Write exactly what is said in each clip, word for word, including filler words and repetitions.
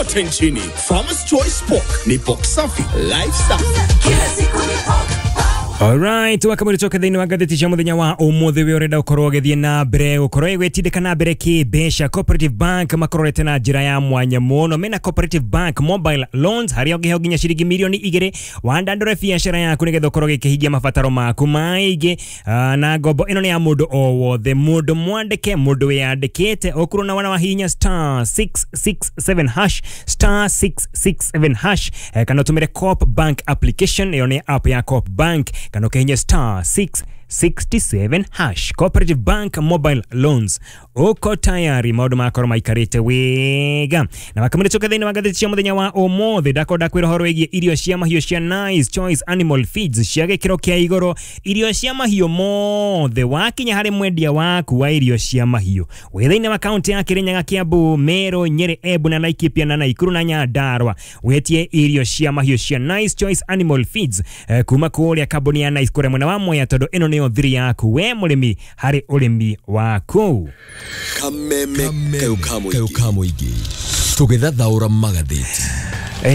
kote nchini. Farmer's Choice Pork ni pork safi, life safi. Kila siku ni pork. Alright, wakamuri toka thĩinĩ wa ngathĩti cia mũthenya wa ũmũthĩ wĩ ũrenda ũkorwo ũgĩthiĩ na mbere gũkorwo ĩgwĩtindĩka na mbere kĩmbeca. Cooperative Bank makororete na njĩra ya mwanya mũno mena Cooperative Bank Mobile Loans harĩa ũngĩheo nginya ciringi mirioni igĩrĩ wandandũre biacara yaku nĩgetha ũkorwo ũgĩkĩhingia mabataro maku maingĩ. Na ngombo ĩno nĩ ya mũndũ o wothe, mũndũ mwandĩke, mũndũ wĩyandĩkĩte, ũkorwo na wana wa hinya star six six seven hash star six six seven hash, kana ũtũmĩre Coop Bank application, ĩyo nĩ app ya Coop Bank, kana ũkĩhinya star six sixty-seven hash. Cooperative Bank Mobile Loans, uko tayari maũndũ makorwo maikarĩte wega. Na makamũrĩ tũke thĩinĩ wa ngathĩti cia mũthenya wa ũmũthĩ ndakorwo ndakwĩra ũhoro wĩgiĩ irio cia mahiũ cia Nice Choice Animal Feeds cia gĩkĩro kĩa igũrũ, irio cia mahiũ mothe wakinya harĩ mwendia waku wa irio cia mahiũ wĩ thĩinĩ wa kaunti ya Kirinyaga, Kiambu, Meru, Nyeri, Embu na Laikipia na Nakuru na Nyandarua, wĩtie irio cia mahiũ cia Nice Choice Animal Feeds eh, kuma kũrĩa kambuni ya Nice kũrĩa mwena wa Mwea, tondũ ĩno nĩyo thiri yaku we mũrĩmi harĩ ũrĩmi waku. Kameme kayo ka mũingĩ tũgĩthathaũra magathĩti.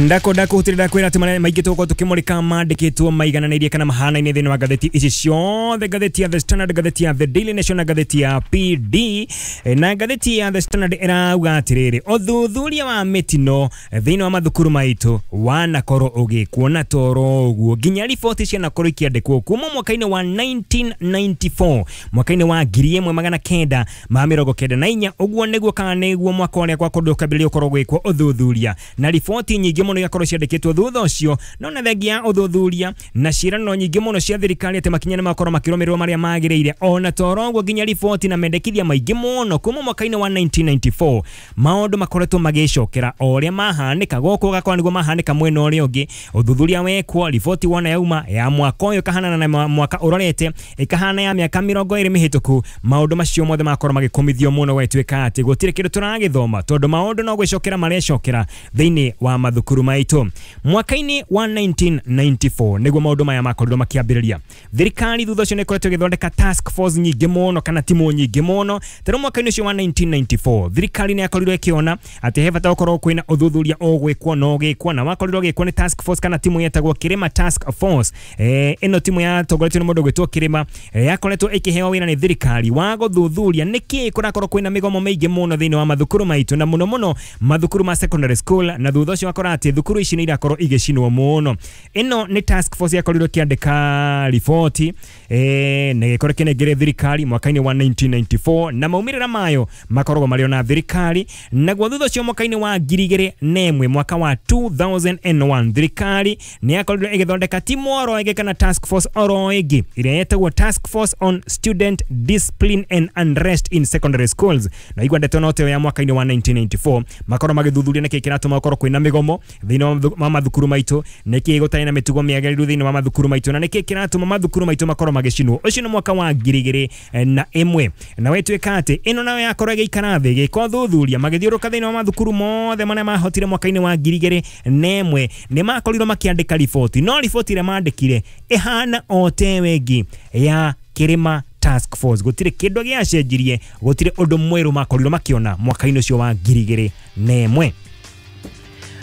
Ndako ndako hutirira kwira ati maria maingĩ tũgũkorwo tũkĩmũrĩka mandĩkĩtwo maigananĩirie kana mahanaine thĩinĩ wa ngathĩti ici ciothe, ngathĩti ya The Standard, ngathĩti ya The Daily Nation na ngathĩti ya P D. Na ngathĩti ya The Standard ĩrauga atĩrĩrĩ, ũthuthuria wa mĩtino thĩinĩ wa mathukuru maitũ wanakorwo ũgĩkwo na toro ũguo nginya riboti cianakorwo ikĩandĩkwo kuma mwaka-inĩ wa nineteen ninety-four, mwaka-inĩ wa ngiri ĩmwe magana kenda ma mĩrongo kenda na inya, ũguo nĩguo kana nĩguo mwaka ũrĩa gwakorirwo ũkĩambĩrĩria gũkorwo gwĩkwo ũthuthuria na riboti nyingĩ mũno igakorwo ciandĩkĩtwo thutha ũcio. No na thengia ya ũthuthuria na ciĩranĩro nyingĩ mũno cia thirikari atĩ makinya nĩmakorwo makĩrũmĩrĩrwo marĩa magĩrĩire, ona toro ũguo nginya riboti na mendekithia maingĩ mũno kuma mwaka-inĩ wa nineteen ninety-four maũndũ makoretwo magĩcokera o ũrĩa mahanĩka gũkũ ũgakora nĩguo mahanĩka mwena ũrĩa ũngĩ. Ũthuthuria wekwo, riboti wona yauma ya mwaka ũyũ ĩkahanana na mwaka ũrorete, ĩkahana ya mĩaka mĩrongo ĩrĩ mĩhĩtũku, maũndũ macio mothe makorwo magĩkũmithio mũno gwĩtuĩka atĩ gũtirĩ kĩndũ tũragĩthoma tondũ maũndũ no gwĩcokera marecokera thĩinĩ wa mathukuru maitũ. Mwaka-inĩ wa nineteen ninety-four nĩguo maũndũ maya makorirwo makĩambĩrĩria. Thirikari thutha ũcio nĩ ĩkoretwo ĩgĩthondeka task force nyingĩ mũno kana timu nyingĩ mũno. Tarĩu mwaka-inĩ ũcio wa nineteen ninety-four thirikari nĩ yakorirwo ĩkĩona atĩ he bata gũkorwo kwĩna ũthuthuria ũgwĩkwo na ũgĩkwo, na wakorirwo ũgĩkwo nĩ task force kana timu yetagwo Kirima Task Force. Eh, ĩno timu yatongoretio nĩ mũndũ ũgwĩtwo Kirima, eh, yakoretwo ĩkĩheo wĩra nĩ thirikari wa gũthuthuria nĩkĩĩ kũrakorwo kwĩna mĩgomo mĩingĩ mũno thĩinĩ wa mathukuru maitũ, na mũno mũno mathukuru ma secondary school, na thutha ũcio wakora atĩ thukuru ici nĩ irakorwo igĩcinwo mũno. Ĩno nĩ task force yakorirwo ĩkĩandĩka riboti eh, na ĩgĩkorwo ĩkĩnengere thirikari mwaka-inĩ wa nineteen ninety-four, na maumĩrĩra mayo makoragwo marĩ ona thirikari. Naguo thutha ũcio mwaka-inĩ wa ngiri igĩrĩ na ĩmwe, mwaka wa two thousand and one, thirikari nĩ yakorirwo ĩgĩthondeka timu oro ĩngĩ kana task force oro ĩngĩ ĩrĩa yetagwo Task Force on Student Discipline and Unrest in Secondary Schools, na igua ndeto no ya mwaka-inĩ wa nineteen ninety-four makorwo magĩthuthuria nĩkĩĩ kĩratũma gũkorwo kwĩna mĩgomo thĩinĩ wa mathukuru maitũ, nĩkĩĩ gũtarĩ na mĩtugo mĩagĩrĩru thĩinĩ wa mathukuru maitũ, na nĩkĩĩ kĩratũma mathukuru maitũ makorwo magĩcinwo. Ũcio nĩ mwaka wa ngiri igĩrĩ na ĩmwe. Na wetwĩka atĩ ĩno nayo yakorwo ĩgĩikara thĩ ĩgĩka ũthuthuria magĩthiũrũrũka thĩinĩ wa mathukuru mothe marĩa mahotire mwaka-inĩ wa ngiri igĩrĩ na ĩmwe, nĩ makorirwo makĩandĩka riboti, no riboti ĩrĩa mandĩkire ĩhana o tewe ĩngĩ ya Kirima Task Force. Gũtirĩ kĩndũ gĩacenjirie, gũtirĩ ũndũ mwerũ makorirwo makĩona mwaka-inĩ ũcio wa ngiri igĩrĩ na ĩmwe.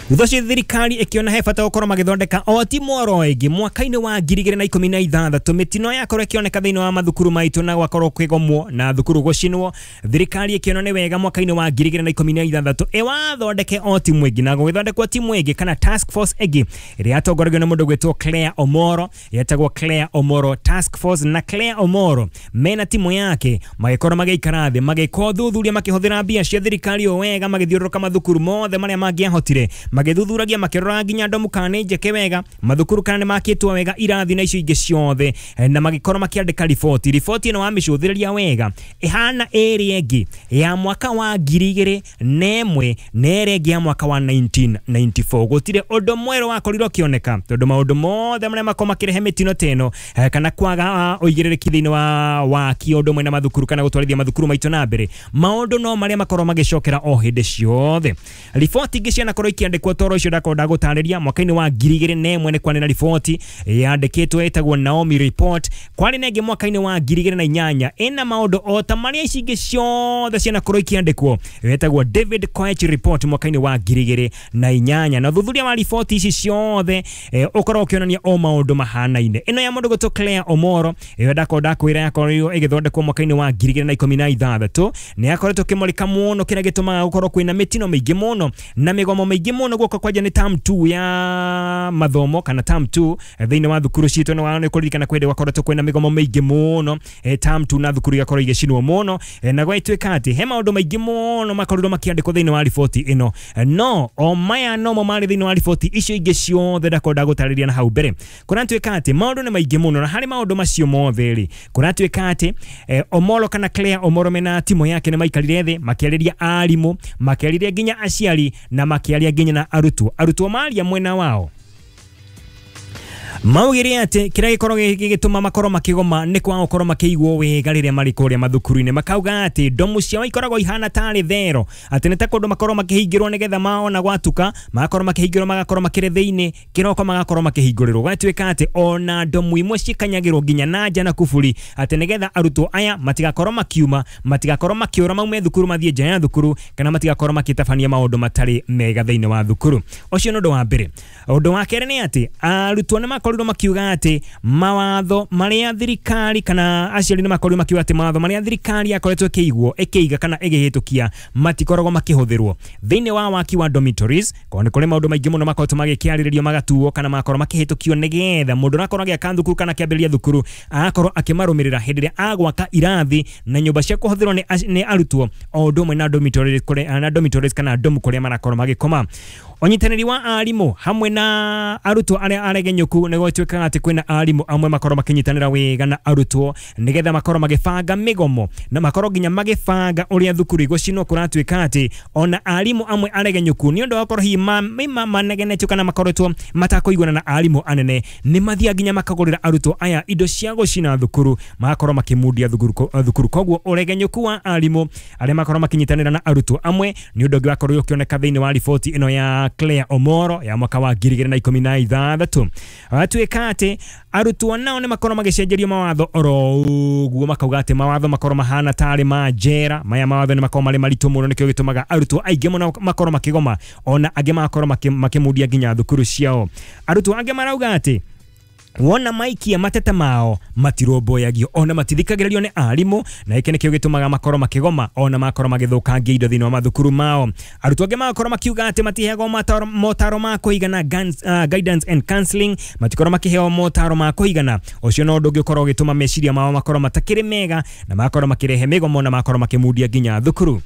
Thutha ũcio thirikari ĩkĩona he bata gũkorwo magĩthondeka o timu oro ĩngĩ mwaka-inĩ wa ngiri igĩrĩ na ikũmi na ithathatũ. Mĩtino yakorwo ĩkĩoneka thĩinĩ wa mathukuru maitũ na gwakorwo kwĩgomwo na thukuru gũcinwo, thirikari ĩkĩona nĩ wega mwaka-inĩ wa ngiri igĩrĩ na ikũmi na ithathatũ ĩwathondeke o timu ĩngĩ, na gũgĩthondekwo timu ĩngĩ kana task force ĩngĩ ĩrĩa yatongoragio nĩ mũndũ ũgwĩtwo Claire Omoro, yetagwo Claire Omoro Task Force. Na Claire Omoro mena timu yake magĩkorwo magĩikara thĩ magĩka ũthuthuria makĩhũthĩra mbia cia thirikari o wega, magĩthiũrũrũka mathukuru mothe marĩa mangĩahotire, magĩthuthuragia makĩrora nginya ndomu kana nĩ njeke wega, mathukuru kana nĩ makĩtwo wega, irathi na icio ingĩ ciothe, na magĩkorwo makĩandĩka riboti. Riboti ĩno wamĩcũthĩrĩria wega ĩhana ĩrĩa ĩngĩ ya mwaka wa ngiri igĩrĩ na ĩmwe na ĩrĩa ĩngĩ ya mwaka wa nineteen ninety-four. Gũtirĩ ũndũ mwerũ wakorirwo ũkĩoneka tondũ maũndũ mothe marĩa makorwo makĩrehe mĩtino ta ĩno kana kwaga ũigĩrĩrĩki thĩinĩ wa waki ũndũ ũmwe na mathukuru kana gũtwarithia mathukuru maitũ na mbere, maũndũ no marĩa makorwo magĩcokera o hĩndĩ ciothe. Riboti ingĩ cianakorwo ikĩandĩkwo makĩandĩkwo toro icio ndakorwo ndagũtarĩria. Mwaka-inĩ wa ngiri igĩrĩ na ĩmwe nĩ kwarĩ na riboti yandĩkĩtwo ĩtagwo Naomi Report. Kwarĩ na ĩngĩ mwaka-inĩ wa ngiri igĩrĩ na inyanya ĩna maũndũ o ta marĩa ici ingĩ ciothe cianakorwo ikĩandĩkwo, ĩtagwo David Koech Report mwaka-inĩ wa ngiri igĩrĩ na inyanya. Na ũthuthuria wa riboti ici ciothe eh, ũkorwo ũkĩonania o maũndũ mahanaine. Ĩno ya mũndũ gwĩtwo Claire Omoro ĩyo ndakorwo ndakwĩra yakorirwo ĩgĩthondekwo mwaka-inĩ wa ngiri igĩrĩ na ikũmi na ithathatũ, nĩ yakoretwo ĩkĩmũrĩka mũno kĩrĩa gĩtũmaga gũkorwo kwĩna mĩtino mĩingĩ mũno na mĩgomo mĩingĩ mũno guoka kwanja nĩ term two ya mathomo kana term two thĩinĩ wa thukuru citũ. Nĩ nĩ kũririkana kwĩndĩ gwakoretwo kwĩna mĩgomo mĩingĩ mũno eh, term two na thukuru igakorwo igĩcinwo mũno eh, na gwatuĩka atĩ he maũndũ maingĩ mũno makorirwo makĩandĩkwo thĩinĩ wa riboti ĩno, no o maya nomo marĩ thĩinĩ wa riboti icio ingĩ ciothe ndakorwo ndagũtarĩria na hau mbere. Kũratuĩka atĩ maũndũ nĩ maingĩ mũno, na harĩ maũndũ macio mothe rĩ kũratuĩka atĩ eh, Omolo kana Claire Omoro mena timu yake nĩ maikarire thĩ makĩarĩria arimũ, makĩarĩria nginya aciari na makĩaria nginya na arutwo. Arutwo maria mwena wao maugire atĩ kĩrĩa gĩkorwo gĩgĩtũma makorwo makĩgoma nĩ kwaga gũkorwo makĩiguo wega rĩrĩa marĩ kũrĩa mathukuru-inĩ. Makauga atĩ ndomu ciao ikoragwo ihana tarĩ thero, atĩ nĩ ta kũndũ makorwo makĩhingĩrwo nĩgetha maona gwatuka magakorwo makĩhingĩrwo, magakorwo makĩrĩ thĩinĩ kĩroko magakorwo makĩhingũrĩrwo. Gwatuĩka atĩ ona ndomu imwe cikanyagĩrwo nginya na nja na kuburi, atĩ nĩgetha arutwo aya matigakorwo makiuma, matigakorwo makĩũra maume thukuru mathiĩ nja ya thukuru, kana matigakorwo makĩtabania maũndũ matarĩ mega thĩinĩ wa thukuru. Ũcio nĩ ũndũ wa mbere. Ũndũ wa kerĩ nĩ atĩ arutwo nĩ makorirwo makiuga atĩ mawatho marĩa thirikari kana aciari nĩ makorirwo makiuga atĩ mawatho marĩa thirikari yakoretwo ĩkĩigwo ĩkĩiga kana ĩgĩhĩtũkia matikoragwo makĩhũthĩrwo thĩinĩ wa waki wa dormitories. Kwa nĩ kũrĩ maũndũ maingĩ mũno makoretwo magĩkĩarĩrĩrio magatuo kana magakorwo makĩhĩtũkio nĩgetha mũndũ ũrakorwo agĩaka thukuru kana akĩambĩrĩria thukuru agakorwo akĩmarũmĩrĩra hĩndĩ ĩrĩa agwaka irathi na nyũmba cia kũhũthĩrwo nĩ nĩ arutwo o ũndũ ũmwe na dormitories kũrĩa na dormitories kana domu kũrĩa marakorwo magĩkoma. Ũnyitanĩri wa arimũ hamwe na arutwo arĩa aregenyũku nĩ gwatuĩkaga atĩ kwĩna arimũ amwe makorwo makĩnyitanĩra wega na arutwo nĩgetha makorwo magĩbanga mĩgomo na makorwo nginya magĩbanga ũrĩa thukuru igũcinwo. Kũratuĩka atĩ ona arimũ amwe aregenyũku nĩ ũndũ wa gũkorwo hihi manegenetio kana makoretwo matakũiguana na arimũ anene nĩ mathiaga nginya makagũrĩra arutwo aya indo cia gũcina thukuru, magakorwo makĩmundia thukuru. Koguo ũregenyũku wa arimũ arĩa makorwo makĩnyitanĩra na arutwo amwe nĩ ũndũ ũngĩ wakorwo ũkĩoneka thĩinĩ wa riboti ĩno ya Claire Omoro ya mwaka wa ngiri igĩrĩ na ikũmi na ithathatũ. Gwatuĩka atĩ arutwo nao nĩ makorwo magĩcenjerio mawatho oro ũguo, makauga atĩ mawatho makorwo mahana tarĩ ma njera. Maya mawatho nĩ makorwo marĩ maritũ mũno, nĩkĩo gĩtũmaga arutwo aingĩ mũno makorwo makĩgoma, ona angĩ magakorwo makĩmundia nginya thukuru ciao. Arutwo angĩ marauga atĩ wona maikia mateta mao matirũmbũyagio ona matithikagĩrĩrio nĩ arimũ, na gĩkĩ nĩkĩo gĩtũmaga makorwo makĩgoma ona makorwo magĩthũkangia indo thĩinĩ wa mathukuru mao. Arutwo angĩ magakorwo makiuga atĩ matiheagwo motaro ma kũigana, uh, guidance and counseling, matikorwo makĩheo motaro ma kũigana. Ũcio no ũndũ ũngĩ ũkorwo ũgĩtũma meciria mao makorwo matakĩrĩ mega na magakorwo makĩrehe mĩgomo na magakorwo makĩmundia nginya thukuru.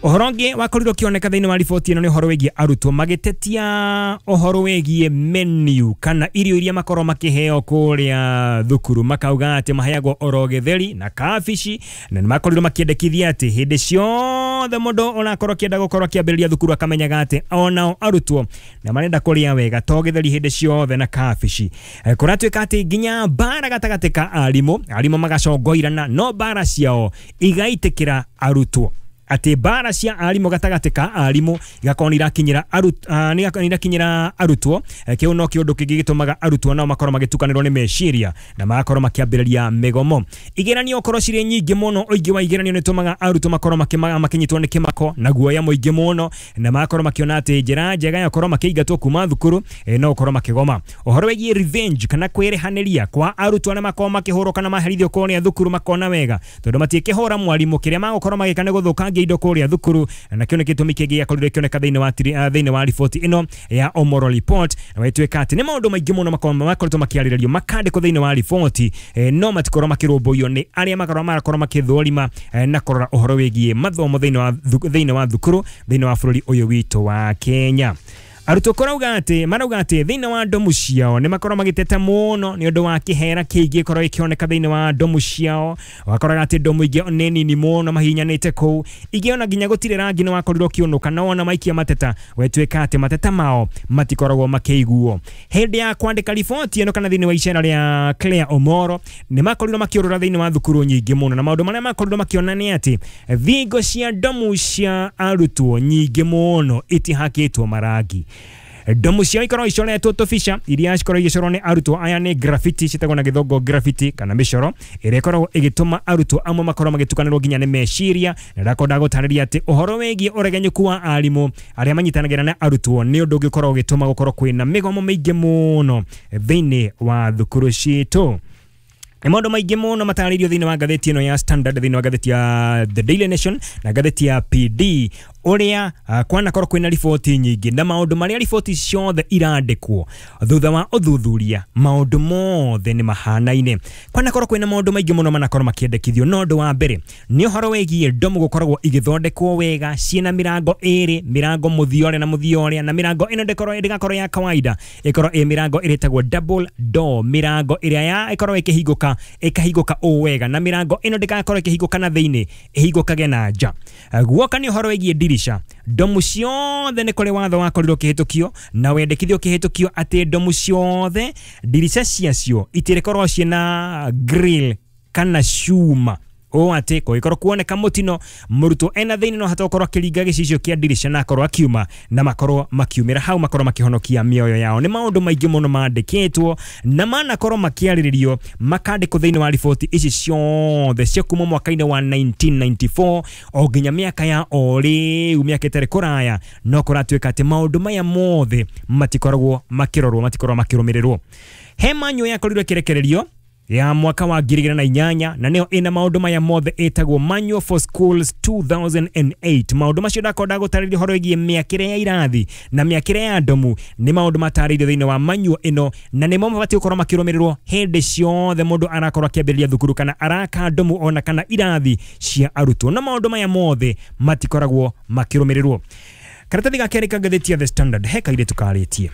Ũhoro ũngĩ wakorirwo ũkĩoneka thĩinĩ wa riboti ĩno nĩ ũhoro wĩgiĩ arutwo magĩtetia ũhoro wĩgiĩ menu kana irio iria makorwo makĩheo kũrĩa thukuru. Makauga atĩ maheagwo oro gĩtheri na kabici, na nĩ makorirwo makĩendekithia atĩ hĩndĩ ciothe mũndũ ũrakorwo akĩenda gũkorwo akĩambĩrĩria thukuru akamenyaga atĩ onao arutwo na marenda kũrĩa wega to gĩtheri hĩndĩ ciothe na kabici. Kũratuĩka atĩ nginya mbara gatagatĩ ka arimũ, arimũ magacongoirana no mbara ciao igaitĩkĩra arutwo, atĩ mbara cia arimũ gatagatĩ ka arimũ igakorwo nĩ irakinyĩra nĩ irakinyĩra arutwo. Kĩu no kĩũndũ kĩngĩ gĩtũmaga arutwo nao makorwo magĩtukanĩrwo nĩ meciria na magakorwo makĩambĩrĩria mĩgomo. Igeranio korwo cirĩ nyingĩ mũno, ũingĩ wa igeranio nĩ ũtũmaga arutwo makorwo makĩnyitwo nĩ kĩmako na guoya mũingĩ mũno, na magakorwo makĩona atĩ njĩra njega ya gũkorwo makĩingatwo kuma thukuru no gũkorwo makĩgoma. Ũhoro wĩgiĩ revenge kana kwĩrĩhanĩria kwa arutwo arĩa makorwo makĩhũrwo kana maherithio kũrĩa thukuru makona wega tondũ matiĩkĩhũra mwarimũ, kĩrĩa magũkorwo magĩka nĩ gũthũkangia indo kũrĩa thukuru, na kĩo nĩ gĩtũmi kĩngĩ gĩakorirwo gĩkĩoneka thĩinĩ wa thĩinĩ wa riboti ĩno ya Omoro Report. Na gwatuĩka atĩ nĩ maũndũ maingĩ mũno makoretwo makĩarĩrĩrio makandĩkwo thĩinĩ wa riboti, no matikorwo makĩrũmbũiyo nĩ arĩa makorwo marakorwo makĩthũrima na kũrora ũhoro wĩgiĩ mathomo thĩinĩ wa thĩinĩ wa thukuru thĩinĩ wa bũrũri ũyũ witũ wa Kenya. Arutwo kũrauga atĩ marauga atĩ thĩinĩ wa ndomu ciao nĩ makorwo magĩteta mũno nĩ ũndũ wa kĩhera kĩingĩ ĩkorwo ĩkĩoneka thĩinĩ wa ndomu ciao. Wakoraga atĩ ndomu ingĩ nĩ nini mũno mahihinyanĩte kũu, ingĩ ona nginya gũtirĩ rangi nĩ wakorirwo ũkĩũnũka, na wona maikia mateta wetuĩka atĩ mateta mao matikoragwo makĩiguo. Hĩndĩ ya kwandĩka riboti ĩno kana thĩinĩ wa icera rĩa Claire Omoro nĩ makorirwo makĩũrũra thĩinĩ wa thukuru nyingĩ mũno, na maũndũ marĩa makorirwo makĩona nĩ atĩ thingo cia ndomu cia arutwo nyingĩ mũno itihakĩtwo marangi. Ndomu ciao ikorwo icoretwo tũbica iria cikorwo igĩcorwo nĩ arutwo aya nĩ graffiti, ciĩtagwo na gĩthũngũ graffiti kana mĩcoro ĩrĩa ĩkoragwo ĩgĩtũma arutwo amwe makorwo magĩtukanĩrwo nginya nĩ meciria. Na ndakorwo ndagũtarĩria atĩ ũhoro wĩgiĩ ũregenyũku wa arimũ arĩa manyitanagĩra na arutwo nĩ ũndũ ũngĩkorwo ũgĩtũma gũkorwo kwĩna mĩgomo mĩingĩ mũno thĩinĩ wa thukuru citũ. Nĩ maũndũ maingĩ mũno matarĩirio thĩinĩ wa ngathĩti ĩno ya Standard, thĩinĩ wa ngathĩti ya The Daily Nation na ngathĩti ya P D, ũrĩa uh, kwanakorwo kwĩna riboti nyingĩ na maũndũ marĩa riboti ciothe irandĩkwo thutha wa ũthuthuria maũndũ mothe nĩ mahanaine. Kwanakorwo kwĩna maũndũ maingĩ mũno manakorwo makĩendekithio, no ũndũ wa mbere nĩ ũhoro wĩgiĩ ndomu gũkoragwo igĩthondekwo wega ciĩna mĩrango ĩrĩ, mĩrango mũthia ũrĩa na mũthia ũrĩa, na mĩrango ĩno ndĩkorwo ndĩgakorwo ya kawaida, ĩkorwo ĩ mĩrango ĩrĩtagwo double door, mĩrango ĩrĩa ya ĩkorwo ĩkĩhingũka ĩkahingũka ũũ wega, na mĩrango ĩno ndĩgakorwo ĩkĩhingũka na thĩinĩ, ĩhingũkage na nja. Guoka nĩ ũhoro wĩgiĩ ndirisha, ndomu ciothe nĩ kũrĩ watho wakorirwo ũkĩhĩtũkio na wendekithio ũkĩhĩtũkio atĩ ndomu ciothe ndirica ciacio itirĩkorwo ciĩna grill kana cuma, ũũ atĩ kũngĩkorwo kuoneka mũtino mũrutwo ena thĩinĩ no hata gũkorwo akĩringa gĩcicio kĩa ndirica na akorwo akiuma na makorwo makiumĩra hau makorwo makĩhonokia mĩoyo yao. Nĩ maũndũ maingĩ mũno mandĩkĩtwo na manakorwo makĩarĩrĩrio makandĩkwo thĩinĩ wa riboti ici ciothe cia kuma mwaka-inĩ wa nineteen ninety-four o nginya mĩaka ya o rĩu, mĩaka ĩtarĩ kũraya, no kũratuĩka atĩ maũndũ maya mothe matikoragwo makĩrorwo, matikoragwo makĩrũmĩrĩrwo. He manyo yakorirwo ĩkĩrekererio ya mwaka wa ngiri igĩrĩ na inyanya na nĩyo ĩna maũndũ maya mothe ĩtagwo Manual for Schools two thousand and eight. Maũndũ macio ndakorwo ndagũtarĩria ũhoro wĩgiĩ mĩakĩre ya irathi na mĩakĩre ya ndomu nĩ maũndũ matarĩirio thĩinĩ wa manual ĩno, na nĩmo mabatiĩ gũkorwo makĩrũmĩrĩrwo hĩndĩ ciothe mũndũ arakorwo akĩambĩrĩria thukuru kana araka ndomu ona kana irathi cia arutwo, na maũndũ maya mothe matikoragwo makĩrũmĩrĩrwo. Karatathi ga kerĩ ka ngathĩti ya The Standard he kairĩtu karĩtie,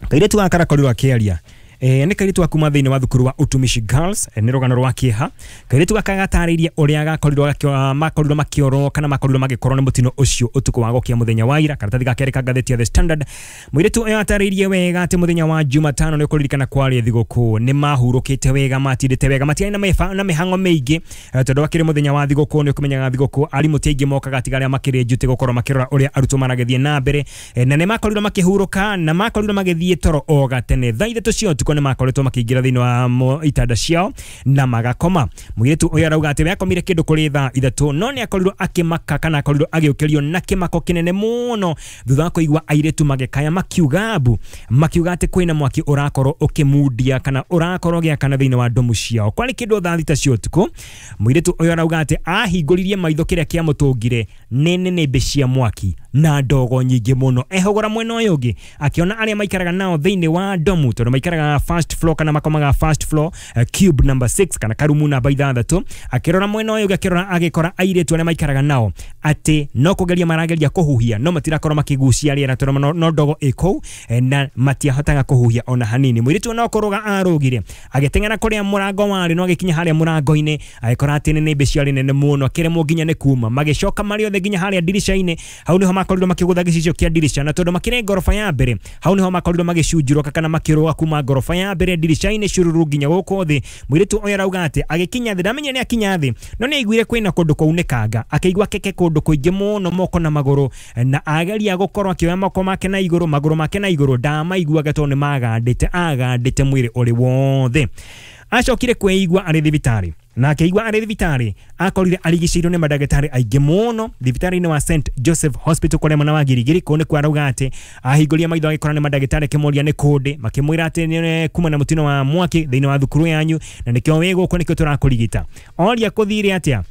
kairĩtu gaka karakorirwo akĩaria. E, nĩ kairĩtu kuma thĩinĩ wa thukuru wa Utumishi Girls, e, nĩ rũgano rwa kĩeha. Kairĩtu gaka gatarĩirie ũrĩa gakorirwo makorirwo makĩorwo kana makorirwo magĩkorwo nĩ mũtino ũcio ũtukũ wa gũkia mũthenya wa ira. Karatathi ga kerĩ ka ngathĩti ya The Standard, mũirĩtu ũyũ atarĩirie wega atĩ mũthenya wa Jumatano nĩ kũririkana kwarĩ thigũkũ, nĩ mahurũkĩte wega, matindĩte wega, matiarĩ na mĩba na mĩhang'o mĩingĩ, e, tondũ wakĩrĩ mũthenya wa thigũkũ nĩ ũkũmenyaga thigũkũ arimũ ti aingĩ mokaga tiga arĩa makĩrĩ njuti gũkorwo makĩrora ũrĩa arutwo maragĩthiĩ na mbere, e, na nĩ makorirwo makĩhurũka na makorirwo magĩthiĩ toro o gatene thaa ithatũ cia ũtukũ nĩ makoretwo makĩingĩra thĩinĩ wa itanda ciao na magakoma. Mũirĩtu ũyũ arauga atĩ we akomire kĩndũ kũrĩ thaa ithatũ, no nĩ akorirwo akĩmaka kana akorirwo agĩũkĩrio na kĩmako kĩnene mũno thutha wa kũigua airĩtu magĩkaya makiuga mbu, makiuga atĩ kwĩna mwaki ũrakorwo ũkĩmundia kana ũrakorwo ũgĩakana thĩinĩ wa ndomu ciao. Kwarĩ kĩndũ thaa thita cia ũtukũ, mũirĩtu ũyũ arauga atĩ ahingũririe maitho kĩrĩa kĩamũtũngire nĩ nĩnĩmbĩ cia mwaki na ndogo nyingĩ mũno. Ehũgũra mwena ũyũ ũngĩ akĩona arĩa maikaraga nao thĩinĩ wa ndomu, tondũ maikaraga first floor kana makomaga first floor, uh, cube number six kana karumu namba ithathatũ. Akĩrora mwena ũyũ ũngĩ akĩrora agĩkora airĩtu arĩa maikaraga nao atĩ no kũgeria marageria kũhuhia no matirakorwo makĩgucia rĩera tondũ no, no ndogo ĩ kũu, na matiahotaga kũhuhia ona hanini. Mũirĩtu no kũrũga arũgire agĩteng'era kũrĩa mũrango warĩ, no agĩkinya harĩa mũrango-inĩ agĩkora atĩ nĩnĩmbĩ ciarĩ nene mũno, akĩremwo nginya nĩ kuma. Magĩcoka marĩ othe nginya harĩa ndirica-inĩ, hau nĩho makorirwo makĩgũtha gĩcicio kĩa ndirica, na tondũ makĩrĩ ngoroba ya mbere hau nĩho makorirwo magĩcunjũrũka kana makĩrũga kuma ngoroba ya mbere ndirica-inĩ cururu nginya gũkũ thĩ. Mũirĩtu ũyũ arauga atĩ agĩkinya thĩ, ndamenyire nĩ akinya thĩ, no nĩ aiguire kwĩna kũndũ kwaunĩkanga, akĩigua keke kũndũ kũingĩ mũno moko na magũrũ, na ageria gũkorwo akĩoya moko make na igũrũ, magũrũ make na igũrũ, ndamaiguaga tondũ nĩ magandĩte, agandĩte mwĩrĩ ũrĩ wothe. Acokire kwĩigua arĩ thibitarĩ, na akĩigua arĩ thibitarĩ akorire arigicĩirio nĩ mandagĩtarĩ aingĩ mũno thibitarĩ-inĩ wa Saint Joseph Hospital kũrĩa mwena wa Girigiri. Kũu nĩkuo arauga atĩ ahingũria maitho agĩkora nĩ mandagĩtarĩ, akĩmoria nĩ kũndĩ, makĩmwĩra atĩ nĩ kuma na mũtino wa mwaki thĩinĩ wa thukuru yanyu na nĩkĩo wĩ gũkũ nĩkĩo tũrakũrigita. Oria kũthire atĩa,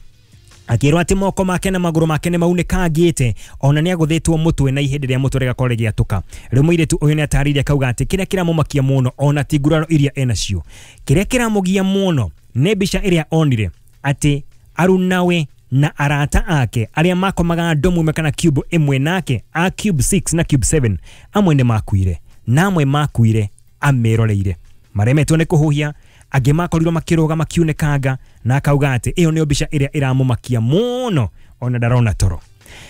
akĩrwo atĩ moko make na magũrũ make nĩ maunĩkangĩte, ona nĩ agũthĩtwo mũtwe na ihĩndĩ rĩa mũtwe rĩgakorwo rĩgĩatũka. Rĩu mũirĩtu ũyũ nĩ atarĩirie akauga atĩ kĩrĩa kĩramũmakia mũno ona ti nguraro iria enacio, kĩrĩa kĩramũgia mũno nĩ mbica ĩrĩa onire atĩ arunawe na arata ake arĩa makomaga ndomu ĩmwe kana cube ĩmwe nake a cube six na cube seven amwe nĩ makuire na amwe makuire ameroreire maremetwo nĩ kũhuhia angĩ makorirwo makĩrũga makiunĩkanga na akauga atĩ ĩyo nĩyo mbica ĩrĩa ĩramũmakia mũno ona ndarona toro.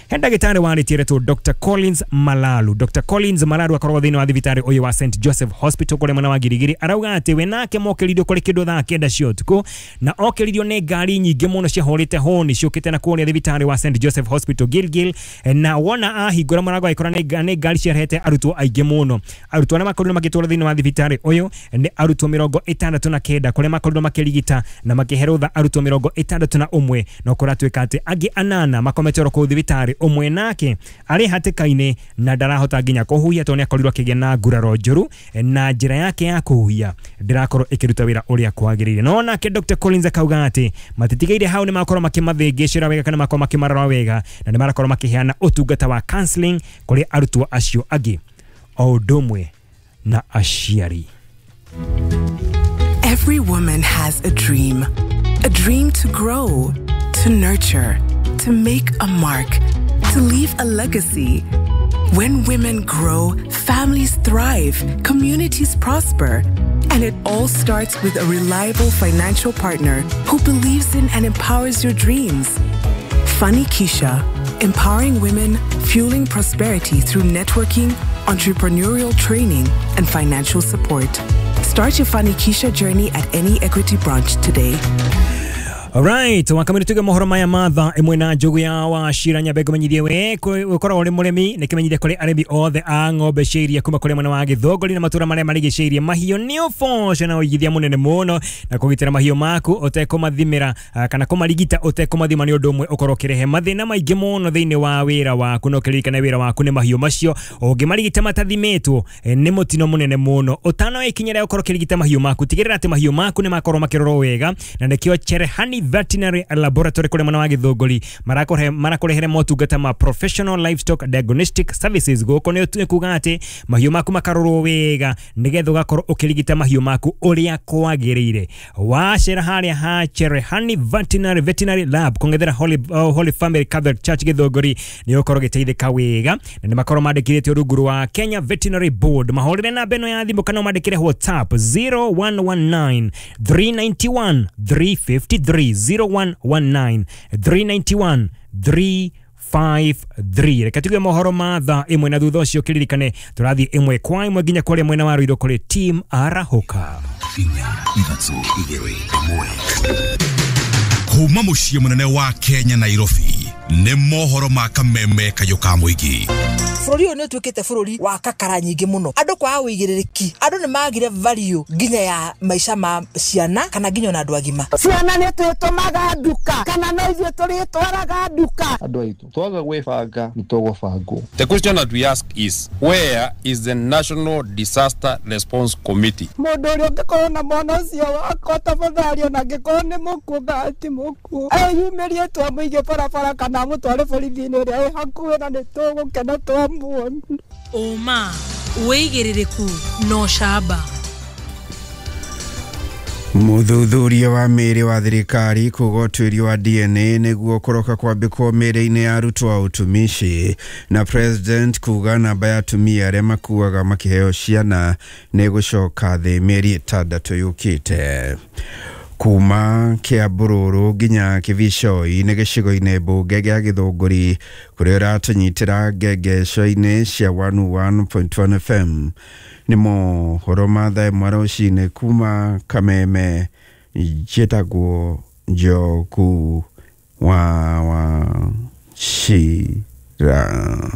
He ndagĩtarĩ warĩtie retwo Doctor Collins Malalu. Doctor Collins Malalu akoragwo thĩinĩ wa thibitarĩ ũyũ wa Saint Joseph Hospital kũrĩa mwena wa Girigiri. Arauga atĩ we nake mokĩririo kũrĩ kĩndũ thaa kenda cia ũtukũ na okĩririo nĩ ngari nyingĩ mũno ciahũrĩte honi ciũkĩte na kũrĩa thibitarĩ wa Saint Joseph Hospital Gilgil, na wona ahingũra mũrango agĩkora nĩ ngari ciarehete arutwo aingĩ mũno. Arutwo arĩa makorirwo magĩtwarwo thĩinĩ wa thibitarĩ ũyũ nĩ arutwo mĩrongo ĩtandatũ na kenda kũrĩa makorirwo makĩrigita na makĩhe rũtha arutwo mĩrongo ĩtandatũ na ũmwe no kũratuĩka atĩ angĩ anana makomete oro kũu thibitarĩ ũmwe nake arĩ hatĩka-inĩ na ndarahota nginya kũhuhia tondũ nĩakorirwo akĩgĩa na nguraro njũru na njĩra yake ya kũhuhia ndĩrakorwo ĩkĩruta wĩra ũrĩa kwagĩrĩire. No nake Doctor Collins akauga atĩ matitigeire hau nĩ makorwo makĩmathĩngĩcĩra wega kana makorwo makĩmarora wega na nĩ marakorwo makĩheana ũtungata wa counseling kũrĩ arutwo acio angĩ o ũndũ ũmwe na aciari. Every woman has a dream, a dream to grow, to nurture, to make a mark, to leave a legacy. When women grow, families thrive, communities prosper. And it all starts with a reliable financial partner who believes in and empowers your dreams. Fanikisha, empowering women, fueling prosperity through networking, entrepreneurial training, and financial support. Start your Fanikisha journey at any Equity branch today. Alright, wakamiri tuge mohoro maya matha imwe na njugu ya Wachira Nyambe ngũmenyithie we ũkoragwo ũrĩ mũrĩmi nĩ kĩmenyithia kũrĩ arĩmi othe a ng'ombe cia iria kuma kũrĩ mwena wa Gĩthũngũri na matũra marĩa marigicĩirie mahiũ nĩ ũboco na ũigithia mũnene mũno na kũgitĩra mahiũ maku ũtekũmathimĩra kana kũmarigita ũtekũmathima nĩ ũndũ ũmwe ũkorwo ũkĩrehe mathĩna maingĩ mũno thĩinĩ wa wĩra waku na ũkĩririkane wĩra waku nĩ mahiũ macio ũngĩmarigita matathimĩtwo nĩ mũtino mũnene mũno. Ũtanoya ikinya rĩa gũkorwo ũkĩrigita mahiũ maku tigĩrĩra atĩ mahiũ maku nĩ makorwo makĩrorwo wega na nĩkĩo Cherehani Veterinary Laboratory kũrĩa mwena wa Gĩthũngũri marakũrehere motungata ma professional livestock diagnostic services. Gũkũ nĩ kuga atĩ mahiũ maku makarorwo wega nĩgetha ũgakorwo ũkĩrigita mahiũ maku ũrĩa kwagĩrĩire. Wacera harĩa ha Cherehani Veterinary Veterinary Lab kũng'ethera Holy, uh, Holy Family Catholic Church Gĩthũngũri nĩ ũkorwo ũgĩteithĩka wega na nĩ makorwo mandĩkithĩtio rungu rwa Kenya Veterinary Board. Mahũrĩre namba ĩno ya thimũ kana ũmandĩkĩre WhatsApp zero one one nine three nine one three five three zero one one nine three nine one three five three. Reke tuge mohoro ma thaa ĩmwe na thutha ũcio kĩririkane tũrathiĩ ĩmwe kwa ĩmwe nginya kũrĩa mwena wa Ruiru kũrĩ team Arahũka. Inya ithatũ igĩrĩ ĩmwe kuma mũciĩ mũnene wa Kenya Nairobi nĩ mohoro ma kameme kayũ ka mũingĩ. Bũrũri ũyũ nĩ ũtuĩkĩte bũrũri wa kakara nyingĩ mũno, andũ kwaga ũigĩrĩrĩki, andũ nĩ magire value nginya ya maica ma ciana kana nginya ona andũ agima. Ciana nĩ twĩtũmaga nduka kana no ithuĩ tũrĩtwaraga nduka. Andũ aitũ twaga gwĩbanga nĩ tũgũbangwo. The question that we ask is, where is the National Disaster Response Committee? Mũndũ ũrĩa ũngĩkorwo na mwana ũcio wakwa tafadhali ona angĩkorwo nĩ mũkuũ kana ti mũkuũ eyumĩrie twamũige barabara kana amũtware borithi-inĩ ĩrĩa ĩ hakuhĩ na nĩ tũgũkena twamuona. Ũma wĩigĩrĩrĩku na ũcamba. Mũthuthuria wa mĩĩrĩ wa thirikari kuga ũtuĩria wa D N A nĩguo kũroka kwambĩkwo mĩĩrĩ-inĩ ya arutwo a ũtumishi na president kuga namba ya atumia arĩa makuaga makĩheo ciana nĩ gũcoka thĩ mĩeri ĩtandatũ yũkĩte. Kuma Kĩambururu nginya Kĩbicoi nĩ gĩcigo-inĩ mbunge gĩa Gĩthũngũri kũrĩa ũratũnyitĩra ngengeco-inĩ cia one oh one point one F M. Nĩ mohoro ma thaa ĩmwe rũcinĩ kuma Kameme njĩtagwo Njogu wa Wachira.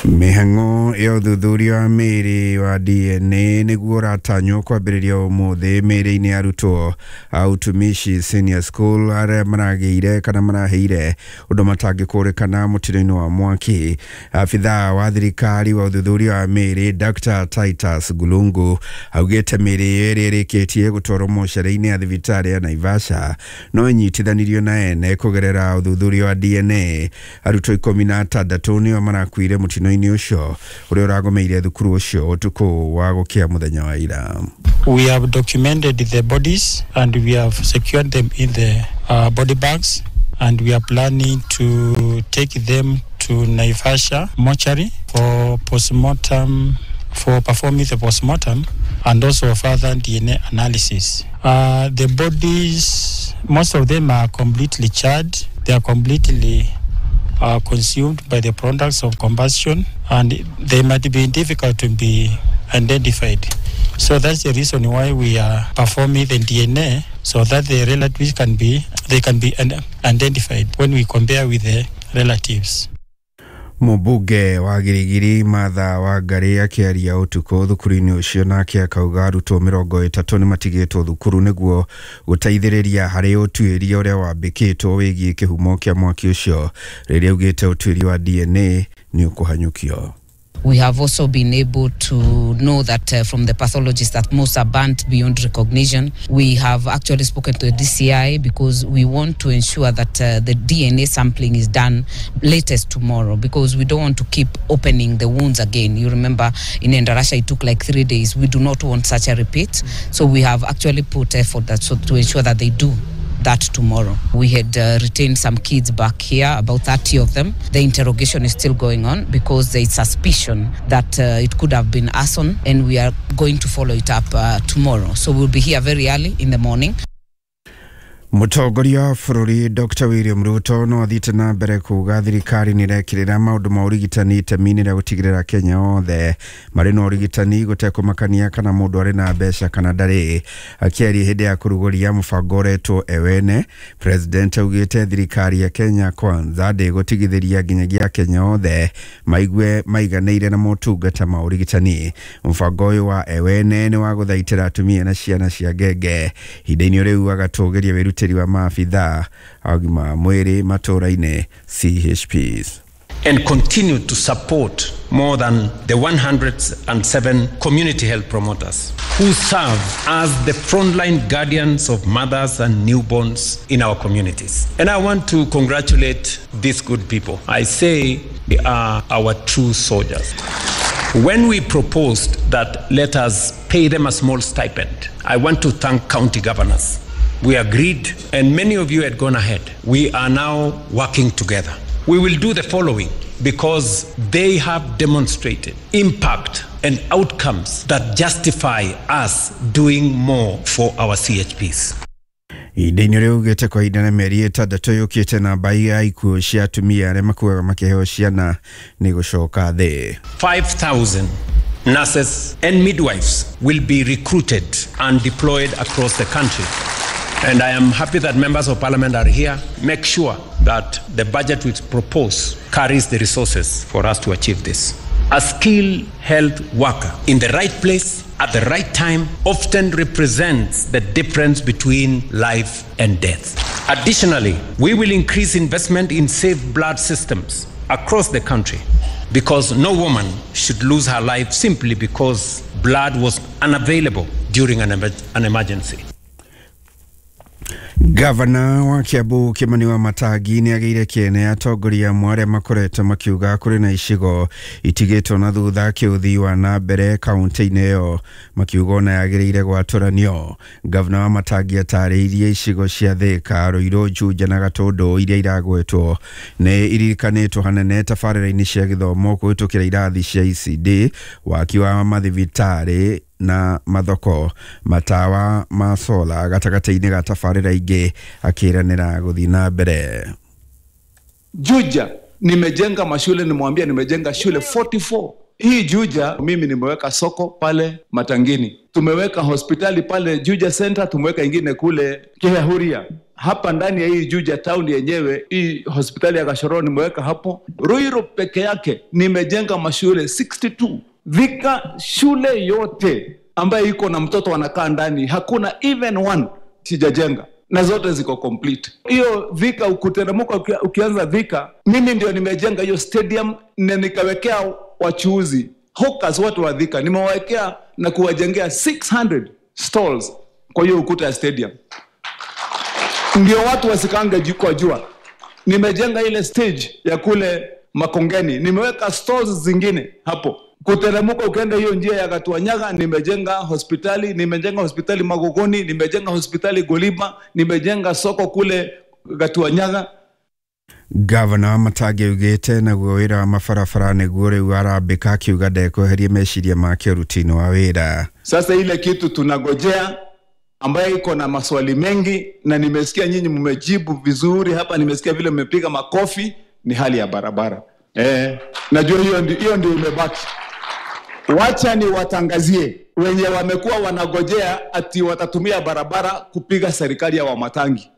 Mĩhang'o ya ũthuthuria wa mĩĩrĩ wa D N A nĩguo ũratanywo kwambĩrĩria ũmũthĩ mĩĩrĩ-inĩ ya arutwo a ũtumishi senior school arĩa maragĩire kana maraheire ũndũ matangĩkũrĩkana mũtino-inĩ wa mwaki. Abithaa wa thirikari wa ũthuthuria wa mĩĩrĩ Doctor Titus Gulungu augĩte mĩĩrĩ ĩrĩa ĩrĩkĩtie gũtwarwo mocarĩ-inĩ ya thibitarĩ ya Naivasha no ĩnyitithanirio na ene kũgerera ũthuthuria wa D N A. Arutwo ikũmi na atandatũ nĩo marakuire mũtino-inĩ ũcio ũrĩa ũragomeire thukuru ũcio ũtukũ wa gũkĩa mũthenya wa ira. We have documented the bodies and we have secured them in the uh, body bags, and we are planning to take them to Naivasha mortuary for postmortem, for performing the postmortem and also further D N A analysis. Uh, the bodies, most of them are completely charred. They are completely uh, consumed by the products of combustion, and they might be difficult to be identified. So that's the reason why we are performing the D N A, so that the relatives can be, they can be identified when we compare with the relatives. Mũmbunge wa Girigiri Martha Wangari akĩaria ũtukũ thukuru-inĩ ũcio nake akauga arutwo mĩrongo ĩtatũ nĩmatigĩtwo thukuru nĩguo gũteithĩrĩria harĩ ũtuĩria ũrĩa wambĩkĩtwo wĩgiĩ kĩhumo kĩa mwaki ũcio rĩrĩa augĩte ũtuĩria wa D N A nĩ ũkũhanyũkio. We have also been able to know that uh, from the pathologist that most are burnt beyond recognition. We have actually spoken to the D C I because we want to ensure that uh, the D N A sampling is done latest tomorrow, because we don't want to keep opening the wounds again. You remember in Endarasha it took like three days. We do not want such a repeat. So we have actually put effort that, so to ensure that they do that tomorrow. We had uh, retained some kids back here, about thirty of them. The interrogation is still going on because there is suspicion that uh, it could have been arson, and we are going to follow it up uh, tomorrow. So we'll be here very early in the morning. Mũtongoria wa bũrũri Doctor William Ruto no athiĩte na mbere kuga thirikari nĩ ĩrekĩrĩra maũndũ ma ũrigitani itemi-inĩ rĩa gũtigĩrĩra Kenya othe marĩ na ũrigitani gũtekũmakania kana mũndũ arĩ na mbeca kana ndarĩ. Akĩaria hĩndĩ ya kũrugũria mũbango ũretwo Ewene, President augĩte thirikari ya Kenya Kwanza ndĩgũtigithĩria nginyagia Kenya othe maigue maiganĩire na motungata ma ũrigitani. Mũbango ũyũ wa Ewene nĩ wa gũthaitĩra atumia na ciana cia ngenge. Ihinda-inĩ rĩu agatũgĩria wĩrutĩri wa maabithaa a ũgima wa mwĩrĩ matũũra-inĩ C H Ps. And continue to support more than the one hundred and seven community health promoters who serve as the frontline guardians of mothers and newborns in our communities. And I want to congratulate these good people. I say they are our true soldiers. When we proposed that let us pay them a small stipend, I want to thank county governors. We agreed, and many of you had gone ahead. We are now working together. We will do the following because they have demonstrated impact and outcomes that justify us doing more for our C H Ps. Ihinda-inĩ rĩu ugĩte kwa ihinda na mĩeri ĩtandatũ yũkĩte namba ya ikuũ cia atumia arĩa makuaga makĩheo ciana nĩ gũcoka thĩ. five thousand nurses and midwives will be recruited and deployed across the country. And I am happy that members of parliament are here. Make sure that the budget we propose carries the resources for us to achieve this. A skilled health worker in the right place at the right time often represents the difference between life and death. Additionally, we will increase investment in safe blood systems across the country, because no woman should lose her life simply because blood was unavailable during an, emer- an emergency. Gavana wa Kiambu Kimani wa Matangi nĩ agĩire kĩene atongoria amwe arĩa makoretwo makiuga kũrĩ na icigo itigĩtwo na thutha kĩũthii wa na mbere kaunti-inĩ ĩyo makiuga ona yagĩrĩire gwatũranio. Gavana wa Matangi atarĩirie icigo cia Thika, Ruiru, Juja na Gatũndũ iria iragwetwo nĩ iririkanĩtwo hanene tabarĩra-inĩ cia gĩthomo kũhĩtũkĩra irathi cia E C D, waki wa mathibitarĩ na mathoko, matawa ma sola gatagatĩ-inĩ ga tabarĩra ingĩ, akĩranĩra gũthiĩ na mbere. Juja nimejenga mashule, nimwambia nimejenga shule forty-four. Hii Juja mimi nimeweka soko pale Matangini, tumeweka hospitali pale Juja Center, tumeweka ingine kule Kihahuria. Hapa ndani ya hii Juja town yenyewe, hii hospitali ya Gashoro nimeweka hapo. Ruiru peke yake nimejenga mashule sixty-two. Thika shule yote ambayo iko na mtoto anakaa ndani hakuna even one sijajenga, na zote ziko complete. Hiyo Thika ukuteremka ukianza Thika, mimi ndio nimejenga hiyo stadium na nikawekea wachuuzi hawkers watu wa Thika, nimewawekea na kuwajengea six hundred stalls kwa hiyo ukuta ya stadium, ndio watu wasikange kwa jua. Nimejenga ile stage ya kule Makongeni, nimeweka stalls zingine hapo. Kuteremka ukienda hiyo njia ya Gatuanyaga, nimejenga hospitali, nimejenga hospitali Magogoni, nimejenga hospitali Golima, nimejenga soko kule Gatuanyaga. Gavana Wamatangi augĩte naguo wĩra wa mabarabara nĩguo rĩu arambĩka, akiuga ndekweheria meciria make ũruti-inĩ wa wĩra. Sasa ile kitu tunagojea ambaye iko na maswali mengi, na nimesikia nyinyi mmejibu vizuri hapa, nimesikia vile mmepiga makofi, ni hali ya barabara. Eh, najua hiyo ndio hiyo ndio imebaki. Wacha ni watangazie wenye wamekuwa wanagojea ati watatumia barabara kupiga serikali ya Wamatangi.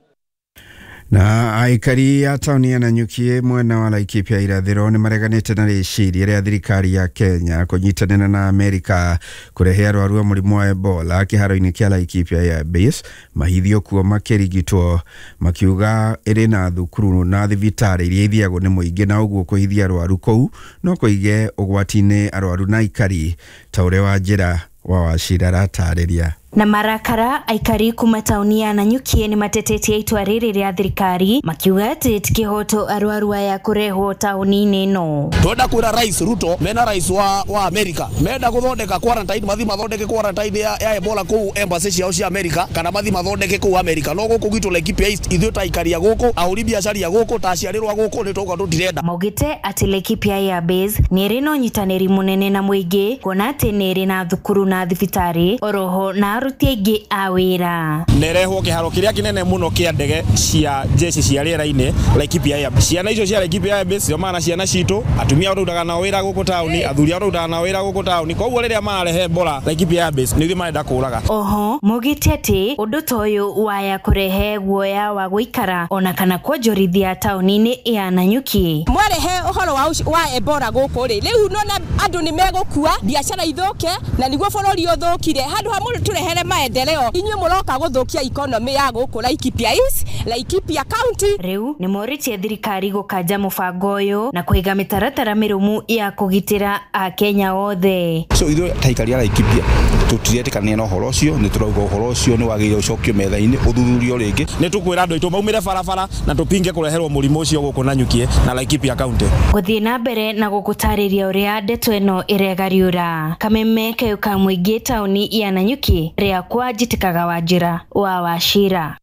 Na aikari a tauni ya Nanyuki mwena wa Laikipia irathĩro nĩ mareganĩte na rĩciria rĩa thirikari ya Kenya kũnyitanĩra na Amerika kũrehe arwaru a mũrimũ wa Ebola kĩharo-inĩ kĩa Laikipia Air Base mahithio kuo makĩrigitwo, makiuga ĩrĩ na thukuru na thibitarĩ iria ithiagwo nĩ mũingĩ na ũguo kũhithia arwaru kũu no kũige ũgwati-inĩ arwaru na aikari, ta ũrĩa Wanjĩra wa Wachira aratarĩria. Na marakara aikari kuma tauni ya Nanyuki ni matetetie itua rĩrĩ rĩa thirikari makiuga atĩ ti kĩhoto arwaru aya kũrehwo tauni-inĩ ĩno. Twenda kwĩra Rais Ruto mena rais wa, wa Amerika menda gũthondeka quarantine, mathi mathondeke quarantine ya, ya Ebola kũu embassy ciao cia Amerika, kana mathi mathondeke kũu Amerika. No gũkũ gwitũ Laikipia East ithuĩ ta aikari a gũkũ, ahũri biacara a gũkũ, ta aciarĩrwo a gũkũ nĩ tũgauga tũtirenda. Maugĩte atĩ Laikipia Air Base nĩ ĩrĩ na ũnyitanĩri mũnene na mũingĩ kuona atĩ nĩ ĩrĩ na thukuru na thibitarĩ oroho na aruti aingĩ a wĩra. Nerehwo kĩharo kĩrĩa kĩnene mũno kĩa ndege cia jeshi cia rĩera-inĩ Laikipia Air Base. Ciana icio cia Laikipia Air Base ciomana ciana citũ, atumia arĩa nao wĩra gũkũ taũni, athuri arĩa nao wĩra gũkũ taũni. Koguo rĩrĩa mararehe Ebola Laikipia Air Base nĩ ithuĩ marenda kũraga. Oho maugĩte atĩ ũndũ ta ũyũ waya kũrehe guoya wa gũikara ona kana kuonjorithia taũni-inĩ ya Nanyuki. Mwarehe ũhoro wa wa Ebola gũkũ rĩ, rĩu nona andũ nĩ megũkua, biacara ithũke na nĩguo bũrũri ũthũkire. Handũ ha mũndũ tũrehere maendeleo, inyuĩ mũroka gũthũkia economy ya gũkũ Laikipia East, Laikipia County. Rĩu nĩ morĩtie thirikari gũkanja mũbango ũyũ na kũiga mĩtaratara mĩrũmu ya kũgitĩra akenya othe. So ithuĩ ta aikari a Laikipia tũtiretĩkania na ũhoro ũcio, nĩ tũrauga ũhoro ũcio nĩ wagĩrĩire ũcokio metha-inĩ ũthuthurio rĩngĩ. Nĩ tũkwĩra andũ aitũ maumĩre barabara na tũpinge kũreherwo mũrimũ ũcio gũkũ Nanyuki na Laikipia County. Gũthiĩ na mbere na gũgũtarĩria ũrĩa ndeto ĩno ĩregariũra. Kameme kayũ ka mũingĩ taũni ya Nanyuki rĩakwa njitĩkaga Wanjĩra wa Wachira.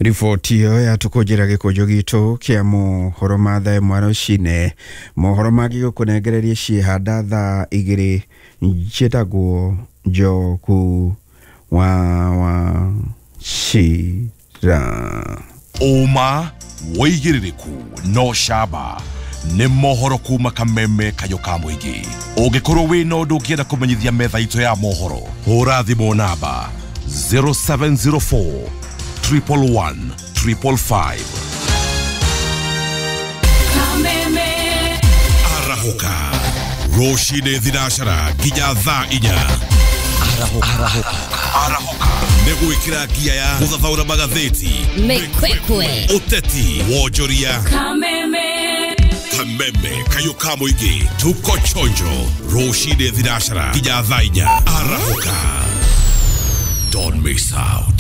Riboti ĩyo yatũkũnjĩra gĩkũnjũ gitũ kĩa mohoro ma thaa ĩmwe rũcinĩ. Mohoro mangĩ gũkũnengereria ciĩhanda thaa igĩrĩ. Njĩtagwo Njoku wa Wachira. Ũma wĩigĩrĩrĩku no camba nĩ mohoro kuma kameme kayũ ka mũingĩ. Ũngĩkorwo wĩna ũndũ ũngĩenda kũmenyithia metha itũ ya mohoro, hũra thimũ namba zero seven zero four triple one triple five. Kameme Arahũka rũcinĩ thinacara nginya thaa inya. Arahũka Arahũka nĩ gwĩkĩra ngia ya gũthathaũra magathĩti, mĩkwekwe, ũteti, wonjoria. Kameme Kameme kayũ ka mũingĩ, tuko chonjo rũcinĩ thinacara nginya thaa inya. Arahũka, don't miss out.